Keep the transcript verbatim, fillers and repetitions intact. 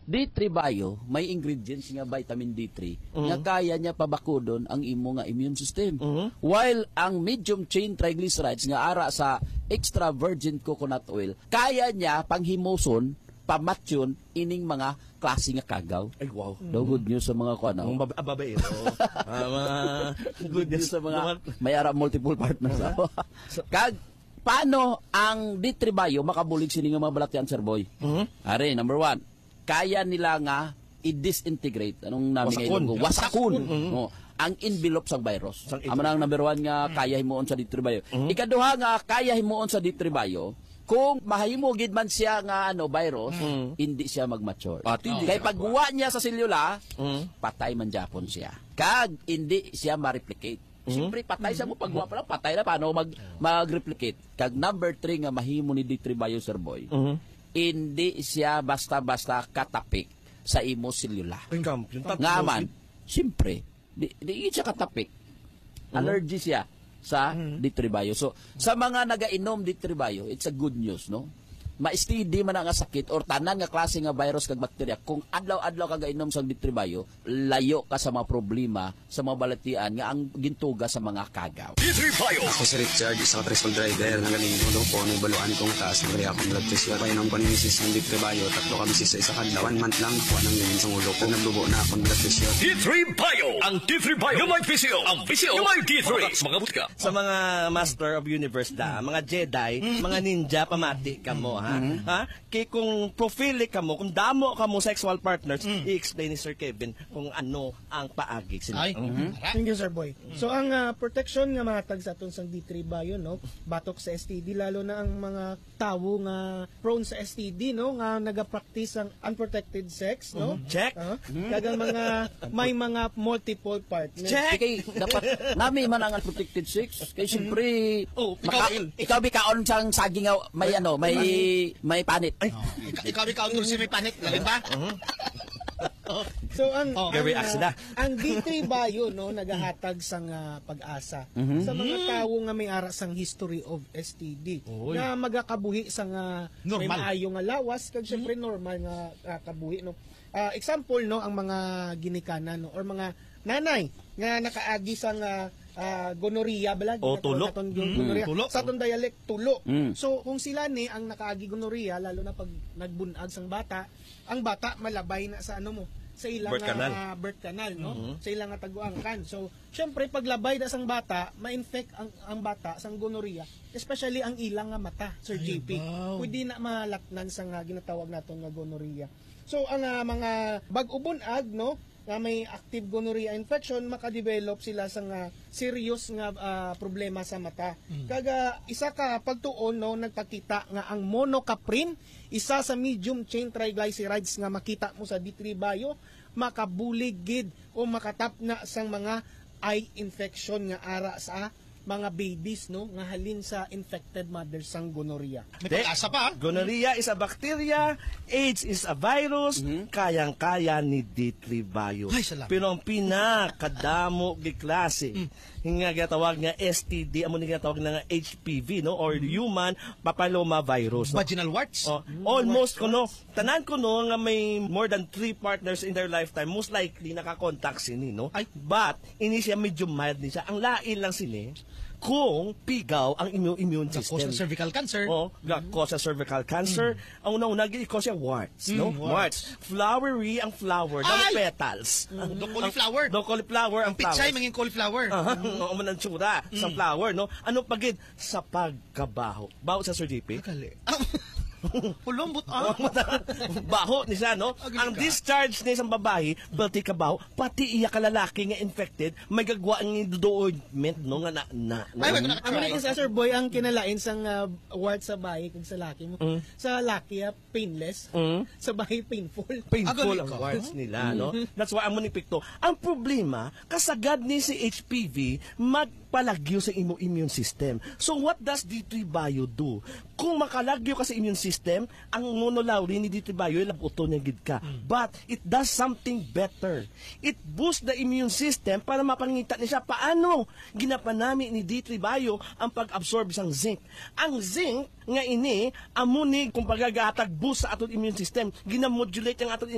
D three Bio may ingredients nga vitamin D three nga Mhm. kaya niya pabakudon ang imo nga immune system. Mhm. While ang medium chain triglycerides nga ara sa extra virgin coconut oil, kaya niya panghimuson, pamatyon ining mga klase nga kagaw. Ay, wow. Daw good news sa mga kuan, Ang oh. bab-, ah, babaero. Ah, mga Good news sa mga mga may ara multiple partners. Aha. Oh. So, kag paano ang D three Bio makabulig sini nga mga balatian, Sir Boy? Mhm. Ari, number one, kaya nila nga i-disintegrate. Anong nami nga Wasakon. Ilonggo? Wasakon. Wasakon, mhm. Oh, ang envelope sa virus. Sang Amo na ang envelope. Number one nga Mm. kaya himuon sa D three Bio. Mhm. Ikaduha nga kaya himuon sa D three Bio, kung mahimo gid man siya nga, ano, virus, Mm. hindi siya mag-mature. Ah, hindi Kay siya pag magwa. Wa niya sa selula, Mm. patay man gyapon siya. Kag hindi siya ma-replicate. Mhm. Siyempre, patay siya mo. Pag wa pa lang, patay na. Paano mag, mag-replicate? Kag number three nga mahimo ni D three Bio, Sir Boy, Mhm. hindi siya basta-basta katapik sa imo selula. Ang kampiyon, tatlo Nga man, gid. Siyempre, di, di yun siya katapik. Mhm. Allergy siya sa Mhm. D three Bio. So, sa mga nagainom D three Bio, it's a good news, no? Ma-S T D man ang sakit or tanan nga klase nga virus kag bakterya, kung adlaw-adlaw ka gainom sa D three Bio, layo ka sa mga problema sa mga balatian nga ang gintuga sa mga kagaw. D three Bio. Ako si Richard, isa ka tricycle driver. Nagaling ko, no, kung ano yung baluan kong taas ng react ng blood pressure. Painom ko ni misis ng D three Bio, tatlo kami sa isa ka adlaw. One month lang, kuha ng ganyan sa ulo ko. Nagbubo na akong blood pressure. D three Bio. Ang D three Bio. Yung may P C O. Ang P C O. Yung may D three. Mga, mga butika. Sa mga Master of Universe na, mga Jedi, Mm. mga ninja, pamati ka mo, ha? Mm. Ha? Kay kung prophilic ka mo, kung damo ka mo sexual partners, Mm. i-explain ni Sir Kevin kung ano ang paagi sila. Ay, Mhm. tara. Thank you, Sir Boy. So, ang, ah, protection nga mahatag sa aton sang D three Bio, no, batok sa S T D, lalo na ang mga tawo nga prone sa S T D, no, nga nagapractice ang unprotected sex, no? Mhm. Check. Ah, Mhm. kag ang mga, may mga multiple partners. Check. Kay dapat nami man ang unprotected sex. Kay siyempre, Oh, maka-, ikaw, Il. ikaw bikaon sang saging nga may, ano, may, may panit. Ay. Oh, ika-, ikaw, ikaw, Dulce, may panit. Lalim ba? Mhm. So, ang, Oh. ang, Very ah, accident. ang D three Bio, no, nagahatag sang, ah, pag-asa Mhm. sa mga Mm. tawo nga may ara sang history of S T D, Oy. nga magakabuhi sang, ah, may Normal. maayo nga lawas, kag syempre Mhm. normal nga, ah, kabuhi, no. Ah, example, no, ang mga ginikanan, no, or mga nanay nga nakaagi sang, ah, ah, gonorrhea, bala, O, ginatawag tulo. naton gon-, Mm. gonorrhea. Tulo. Sa aton dialect, tulo. Mm. So, kung sila ni ang nakaagi gonorrhea, lalo na pag nagbun-ag sang bata, ang bata malabay na sa, ano mo, sa ilang, Birth canal. ah, birth canal, no? Mhm. Sa ilang nga taguangkan. So, syempre, paglabay na sang bata, ma-infect ang, ang bata sang gonorrhea, especially ang ilang nga mata, Sir Ay, J P. Wow. Pwede na malatnan sa nga ginatawag naton nga gonorrhea. So, ang, ah, mga bag-o bunag, no, nga may active gonorrhea infection, makadevelop sila sa nga serious nga, ah, problema sa mata. Mm. Kag, ah, isa ka pagtuon, no, nagpakita nga ang monocaprin, isa sa medium chain triglycerides nga makita mo sa D three Bio, makabulig gid o makatapna sang mga eye infection nga ara sa mga babies, no, nga halin sa infected mothers sang gonorrhea. May Te, pag-asa pa, ah. Gonorrhea is a bacteria, AIDS is a virus, Mhm. kayang-kaya ni D three Bio. Ay, salamat. Pero ang pinakadamo gid klase Mm. nga ginatawag nga S T D, amo ni ginatawag na nga H P V, no, or Mm. human papilloma virus, no? Vaginal warts? Oh, Mm, almost warts, kuno, warts. Tanan kuno nga may more than three partners in their lifetime, most likely nakakontak sini, no? Ay. But, ini siya medyo mild ni siya. Ang lain lang sini, kung pigaw ang immune, immune Ga-cause system. Ng cervical cancer. Oh, ga-cause sa cervical cancer. Mm. Ang una-una, gi-cause siya warts, Mm, no? warts. Warts. Flowery ang flower, daw Ay! petals. Mm, do cauliflower. Ang, do cauliflower ang Ang pichay, flowers. Mangin cauliflower. Aha, Mm. oo, man ang tsura sa Mm. flower, no? Ano pa gid? Sa pagkabaho. Baho sa, Sir J P? Akali. Pulong, but, ah. Baho ni siya, no? Agli Ang ka. Discharge ni isang babae, pati kabaho, pati iya ka lalaki nga infected, may gagwa ang duduog ointment, no? Nga na, na, Ay, wait, na. Ang ulit sa, Sir Boy, ang kinalain sang, ah, wart sa bayi kag sa laki mo. Mm. Sa laki, ah, painless. Mm. Sa bayi, painful. Painful Agli ang ka. Warts nila, no? Mm. That's why amo ni epekto. Ang problema, kasagad ni si H P V, magpalagyo sa imo immune system. So, what does D three Bio do? Kung makalagyo ka sa immune system, ang monolaurin ni D three Bio, labuton niya gid ka. Mm. But, it does something better. It boosts the immune system para mapangita ni siya paano ginapanami ni D three Bio ang pag-absorb sang zinc. Ang zinc nga ini, amo ni kung pagagahatag boost sa aton immune system, ginamodulate ang aton